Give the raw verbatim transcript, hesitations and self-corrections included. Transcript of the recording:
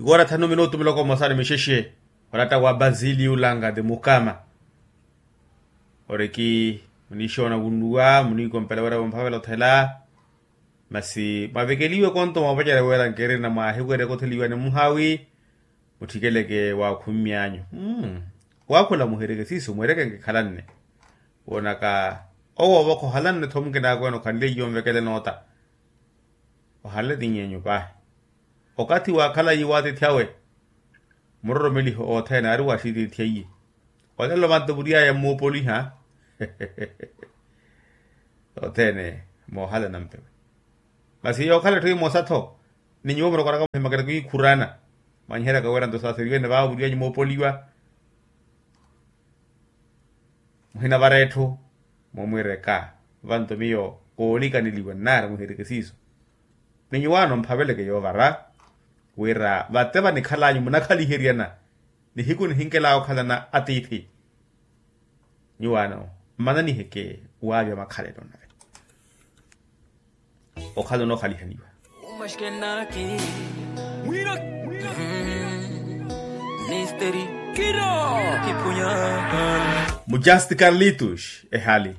Ikoora thanu minutu muloko mmosa ni mixexe. Oratta wa basili ulanga ti mukama. Oriki muniixoona wunnuwa muniikompela wira vomphavela othela. Masi mwavekeliwe konto moopacerya wira nkirina mwaahiwerya kotheliwa ni muhaawi. Mutthikeleke waakhummyanyu. Waakhula muhirike siiso mweereke nkikhalanne. Woonaka owo ovokha ohalanne-tho mukinaakweene okhanleiye onvekela enoota. Ohanle tinyenyu paahi. Okathi waakhalayi waatiithi awe muroromeliho othene aari waaxitiithi aiye. Olelo vanto vuriyaya mmoopoliha. Othene moohala nampewe. Masi yookhala etthu emosa-tho ni nyuwo murokoraka muhimakela kwikhurana. Mwanyiheryaka wira nto saaseriwene vaavo vuriyanyu moopoliwa. Muhinavara etthu mumwireka. Vanto miyo koonikaneliwa nnaari muhirike siiso. Ni nyuwaano mphaveleke yoovara wira vate vanikhalanyu munakhaliheryana nihiku nihinkelaya okhalana atiithi. Nyuwaano mmananiheke waavya makhalelo nave okhala onoohalihaniwa. Mujasti carlitos ehali.